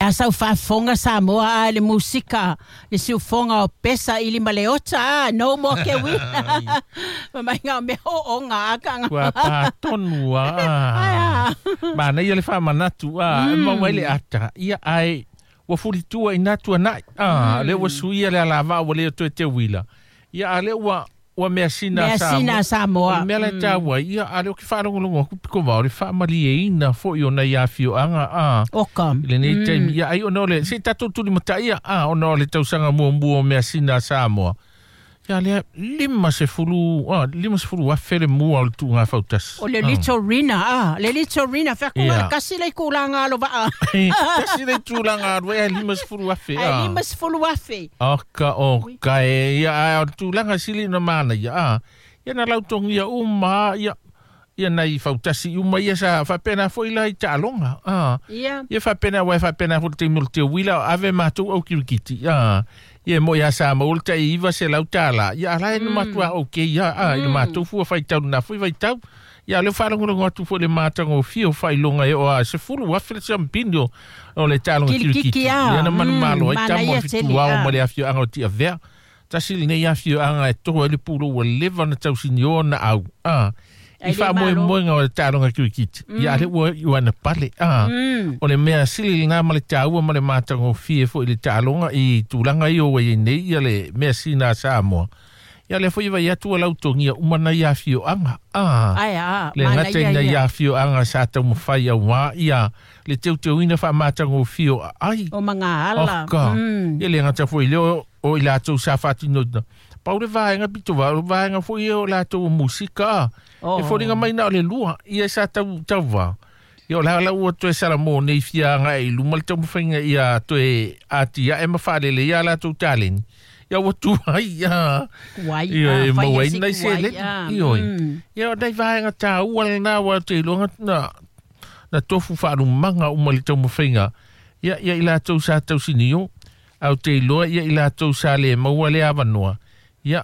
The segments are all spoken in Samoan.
A sau faafofoga Samoa a le musika le siufoga o pesa ili ma le ota a no more ke uila ma mai ngā mea o onga a kanga. Ua pātonu a. Manaia le faamanatu a e maua ai le ata. Ia ai ua fulitua i nā tuanai. A lea ua suia le alavaa ua le toe teuila. Ia a lea ua measina a Samoa. Measina a Samoa. O le mea la e taua ai, ia a lea ou te faalogologo atu pito vao le faamalieina foi o nai afioaga a. Oka. I lenei taimi. Ia ai ona o le, se i tatou tulimataia a, ona o le tausaga muamua o measina a Samoa. Ia lea, 50, a, 50,000 le mua o le tuuga fautasi. O le Little Rina, a, le Little Rina, whakunga le kasi le tulaga alo vaa. Kasi le tulaga alo, e 50,000, a. Ai 50,000. Oka, oka, e, ia, a, o le tulaga sili na mana, ia, a. Ia na lautogia uma, ia, ia nai fautasi uma ia sa faapena foi la i taaloga a. Ia. Ia faapena uae faapena foi le taimi o le teuila ave matou au kirikiti a. Ia e mo'i a sa maua le ta'i $900 ia ala e na matuā okay ia a i le matou fua faitau lena foi vaitau. Ia lea ua faalogologo atu foi i le matagofie o faailoga e oo a 10,000 le siamupini o le taaloga Kirikiti kirikiti. Lea na manumalo ai tama o Manaia le tele fituao a. ma le afioaga o Tiavea. Tasi lenei afioaga e toa ai le pulou ua leva ona tausinioa ona au a. I Ai le malo. faamoemoega o le taaloga kirikiti. Ia a lea ua iu ana pale a. O le mea sili lena ma le taua ma le matagofie foi i le taaloga i tulaga ia ua iai nei ia le measina a Samoa. Ia lea foi e vai atu ua lautogia uma nai afioaga a. Ai a, Le mana gata ia i nai ia. afioaga sa taumafai auā ia le teuteuina faamatagofie o aai. O magaala. Oka. Ia le gata foi lea o i latou sa faatinoina. Pau le vaega pito va, o le vaega foi ia o latou o musika a. E foliga mai na o le lua, ia sa tau tauva. Ia o la la ua toe salamo nei fiaga e i luma le taumafaiga ia toe atiae ma faalelei ia latou taleni. Ia ua tuai ia. Kuai, Ia a, e fai maua ia ai se nai kuai, seleni. a. Ioe. Ia o nai vaega tāua lena ua te iloga na tofu faalumaga uma i le taumafaiga. Ia ia i latou sa tausinio, au te iloa ia i latou sa le maua le avanoa. Ia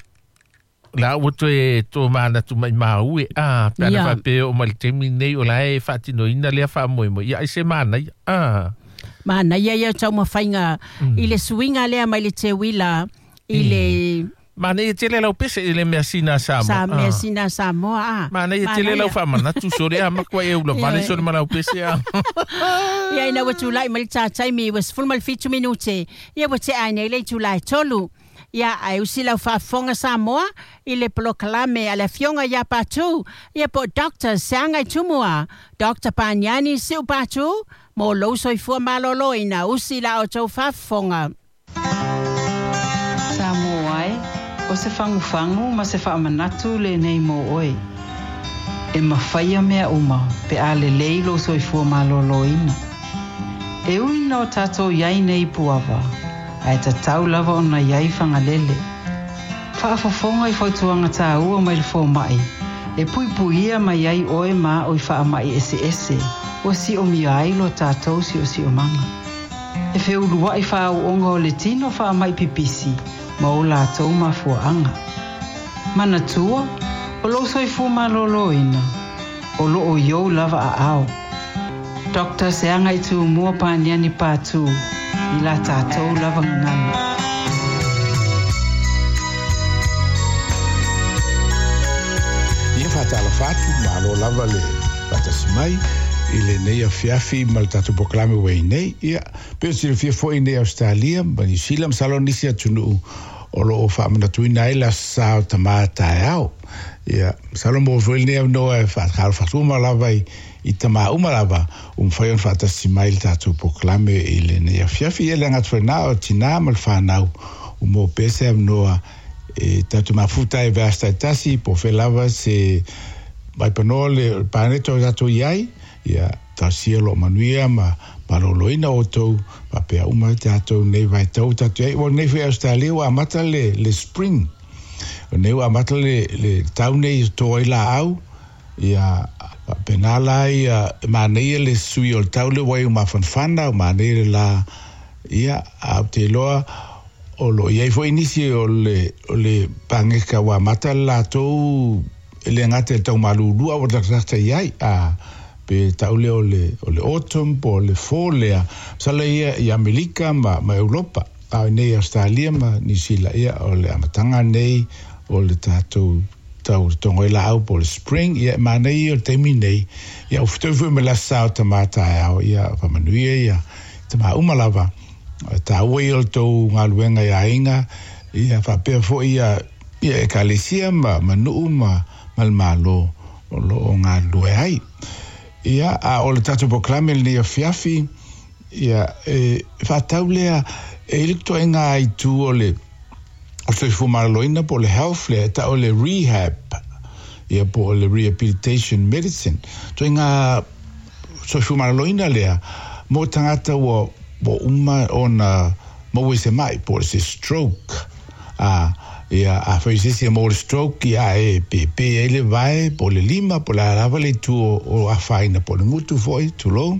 la ua toe to manatu mai maue a pe ana Ia. faapea o mai le taimi nei o la e faatinoina lea faamoemoe. Ia ai se manaia a. Manaia ia taumafaiga i le suiga lea mai le teuila i le Manaia tele lau pese i le measina a Samoa. Sa measina a Samoa a. Manaia tele lau Manaia. faamanatu sole a matua e ula vale Ia. sole ma lau pese a. Ia ina ua tulai mai le tātaimi ua 17 minute. Ia ua te ai nei le itulai tolu. Ia ai usi lau faafofoga Samoa i le polokalame a le afioga ia Patu. Ia po Dr. Seaga i Tumua. Dr. Paniani Siu Patu. Mo lou soifua malolo ina usi la o tau faafofoga. Samoa ai, o se fangufangu ma se faamanatu lenei mo oe. E mawhaia mea uma pe a lelei lo soifua maloloina. E ui no tātou iai nei puava, ae tatau lava ona iai whangalele. Whaafofonga i fautuanga tāua mai le fōmai, e puipuia mai ai oe mā o i whaamai ese ese, o si o mia ai lo tātou si o si o manga. E wheulua i whaauonga o le tino whaamai pipisi, ma o lātou mafuaanga. Manatua, o lo soifua maloloina, o lo o iou lava a ao. Dr. Seaga i Tumua Paniani Patu, i la tātou lava ngangana. Ia whātala whātu, malo lava le whātasi mai, i lenei afiafi ma le tatou polokalame ua i nei. Ia, pe o silafia foi nei Australia, ma New Zealand, masalo nisi atunuu o loo faamanatuina ai le aso sa o tamā taeao. Ia, masalo mo foi lenei avanoa e faatalofa lava i tamā uma lava, ua mafai ona faatasi mai le tatou polokalame i lenei afiafi. Ia le agatu fainā o tinā ma le whanau, ua mo pea se avanoa e tatou mafuta e vea tasi, po fe lava se mai panoa le paneto o tatou iai, ia tausia lo manuia ma maloloina o tou, papea uma tatou nei vaitau tatou iai. Ua nei foi Australia ua amata le spring. O nei ua amata le tau nei to ai la au, ia pena la ia manaia le sui o le tau le wai o mafanfana, o manaia le la, ia au te loa, o lo iai foi nisi o le pangeka ua amata le latou e le ngata e tau malulua o taktaka iai, a Pe tau lea o le autumn po o le fall lea. Masalo ia i Amerika ma Europa. A o nei Australia ma Niu Sila ia o le amataga nei o le tatou tau togo ai laau po o le spring. Ia e manaia ia o le taimi nei. Ia ua fetaui foi ma le aso sa o tamā taeao. Ia faamanuia ia tamā uma lava. Taua ia o le tou galuega i aiga. Ia faapea foi ia ia ekalesia ma nuu ma le Malo o loo galulue ai. Ia a o le tatou polokalame lenei afiafi, ia e faatatau lea e i ai le toaiga itu o le soifua maloloina po o le health lea e tau o le rehab, ia po o le rehabilitation medicine. Toaiga soifua maloloina lea mo tagata ua uma ona maua i se mai po o se stroke. A, ia, afai o se isi e maua le stroke, ia, e pēpē ai le vae, po o le lima, po o le a lava le itu o afaina, po o le gutu foi, tulou.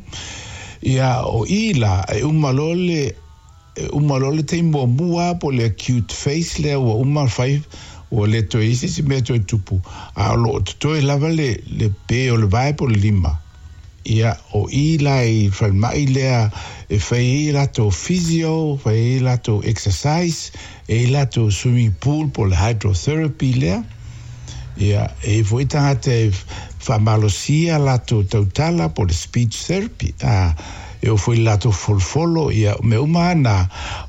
Ia, o i la, e uma loa le, e uma loa le taimi muamua po o le acute phase lea ua uma fai, ua le toe i ai se isi mea toe tupu, a o lo o totoe lava le, le pē o le vae po o le lima. Ia, o i la i falemai lea e fai ai latou physio, fai ai latou exercise, e ai latou swimming pool po o le hydrotherapy lea. Ia, e i ai foi tagata e faamalosia latou tautala po o le speech therapy. A, e oo foi i le latou folofolo, ia, o mea uma lava na,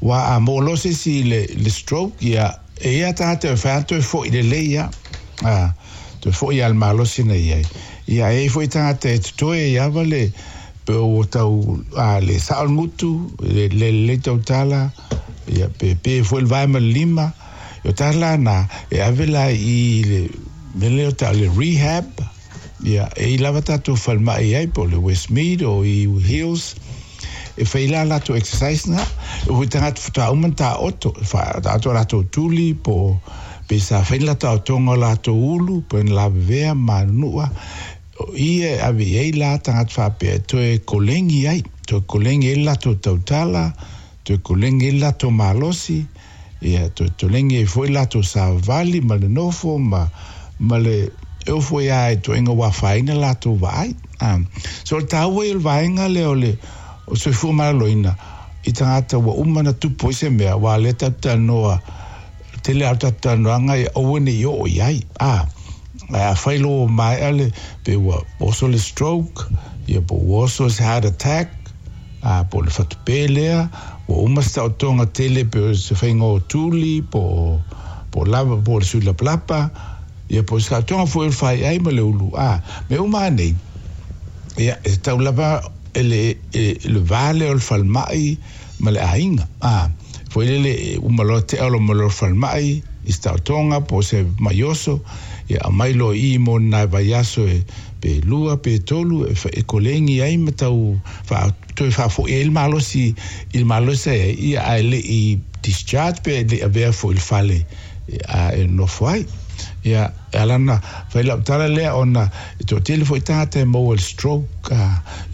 aua a maua loa se isi i le stroke, ia, e i ai lava tagata e fai lava toe foi lelei lava. A, toe foi lava i le malosi na i ai. Ia, e i ai foi tagata e totoe ai lava le, pe ua tau, a, le sao le gutu, le lelei tautala, ia, pe pe foi le vae ma le lima. O tala na, e ave la i le mea lea o tau le rehab, ia, e i lava tatou falemai ai, po o le Westmead o i Hills, e fai la latou exercise na, e hui tagata faatoa uma ona taoto, taoto a latou tuli, po o pe sa fai ni latou aotoga o latou ulu, po o ni lavevea ma manunua, o i e ave i ai la tagata faapea e toe kolegi ai, toe kolegi ai le latou tautala, toe kolegi ai le latou malosi, ia toe tolegi ai foi le latou savavali ma le nofo ma, ma le e oo foi lava i ituaiga ua afaina latou vaai. So o le taua ia o le vaega lea o le soifua maloloina i tagata ua uma ona tupu ai se mea, aua o lea tatou te talanoa, tele lava o tatou talanoaga ia aua ne i oo i ai. Ae afai loa ua maea le, pe ua oso le stroke, ia po ua oso se heart attack, po o le fatupē lea, ua uma se taotoga tele pe o se faiga o tuli, po o lava, po o le sui lapalapa, ia po o se taotoga foi o le faiai ma le ulu, mea uma lava nei, ia, e tatau lava e le va lea o le falemai ma le aiga, foi lele, e uma loa tea o ma le falemai, i se taotoga po o se maioso, ia aumai loa i i mo ni nai vaiaso e pe lua pe tolu e kolegi ai ma tau toe faafoi ai le malosi i le malosi ai ia ae le i discharge pe le i avea foi i le fale a e nofo ai. Ia, e ala ona fai lau tala lea ona e toatele foi tagata e maua i le stroke,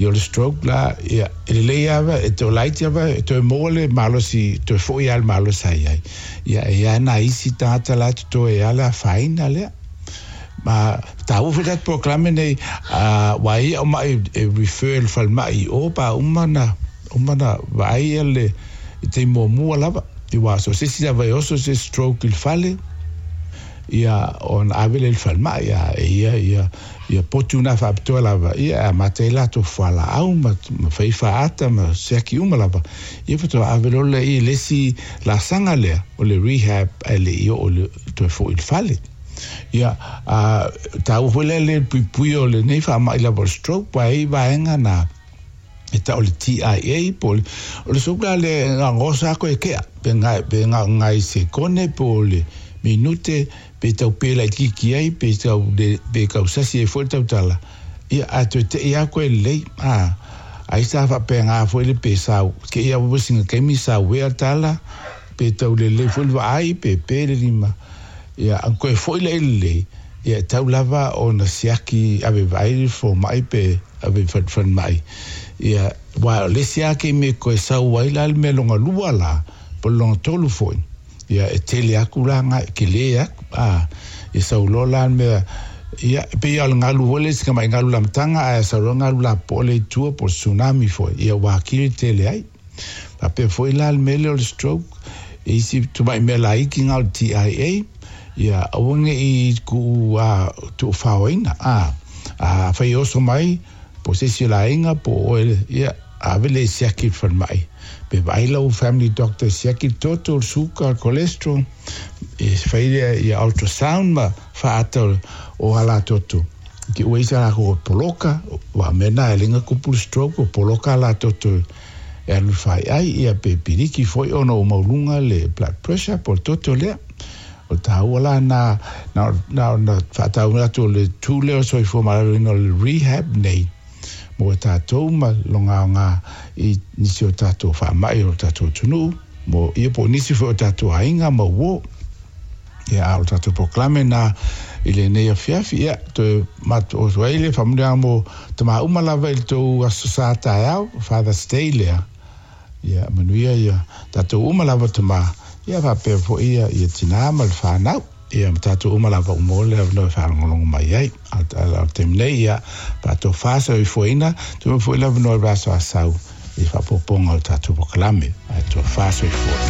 ia o le stroke la, ia, e lelei lava, e toe laiti lava, e toe maua le malosi, toe foi lava le malosi sa i ai. Ia, e i ai nai isi tagata la e totoe ai lava le afaina lea. Ma taua foi le tatou polokalame nei, aua e i ai au mai e refer i le falemai i o, pa uma na, uma na vaai ia le, i taimi muamua lava. Aua so o se isi lava e oso se stroke i le fale, ia ona ave lea i le falemai, a e ia ia ia potu na faapitoa lava, ia e amata ai latou fualaau ma ma fai faata ma siaki uma lava, ia faatoa ave loa lea i le isi laasaga lea o le rehab ae le i oo i le toe foi i le fale. Ia, a taua foi lea le puipuia o lenei faamai lava o le stroke, aua e i ai vaega na e tau o le TIA po o le, o le stroke la lea e gosa atu e kea, pe ngai, pe ngai sekone po o le minute, pe tau pē laitiiti ai, pe tau le, pe kau sasi ai foi le tautala, ia, ae toe tei lava koe lelei, a, ai sa faapena foi le pe sa, ke ia wawe singa taimi sa uea tala, pe tau lelei foi le vaai, pe pē le lima, ia, a koe foi lea i lelei, ia, e tau lava ona siaki ave vaai le fomai pe ave i falemai. Ia, aua o le isi lava taimi e koe sau ai la le mea lona lua la, po o le lona tolu foi, ia, e tele atu la ngai, kele atu, a, ia sau loa la le mea Ia, e pei o le galu foi le isi mai galu lamataga ae sau loa galu lapopoa lea i tua po o le tsunami foi, ia ua atili tele ai. Faapea foi la le mea lea o le stroke, e isi tumai mea laiti na o le TIA, ia aua ne i tuu tuufaoina. Afai e oso mai, po o se isi o le aiga, po o oe, ia, ave lea e siaki i le falemai. Pe vaai lau family doctor e siaki le toto, le suka, le cholesterol, e fai lea ia ultrasound ma faata o ala toto. Ki ua isa la ko poloka, wa mea na e lenga kupu le stroke, o poloka ala toto e alu fai ai, ia pe piriki foi ona o maulunga le blood pressure po le toto lea. O tāua la na, na, na, na whaatau atu o le tū lea o soifua maloloina o le rehab nei mo tātou ma longa o ngā i nisi o tātou whaamai o tātou tunu, mo ia po nisi foi o tātou ainga ma wo. Ia a o tātou poklame na i le nei afiafi, ia, toe mat o tua ile whamurea mo te maa uma lava i le tau aso sa taeao, Father's Day lea. Ia, manuia ia, tātou uma lava te maa, ia whapea fo ia, ia tina ma le whanau. Ia, ma tātou uma lava umo le awanoa e whalongolongo mai ai. Al te mnei, ia, tātou whasa i fuaina, tu ma fo i lava noa raso a sau, i whapoponga o tātou pokalame, a tō whasa i fua.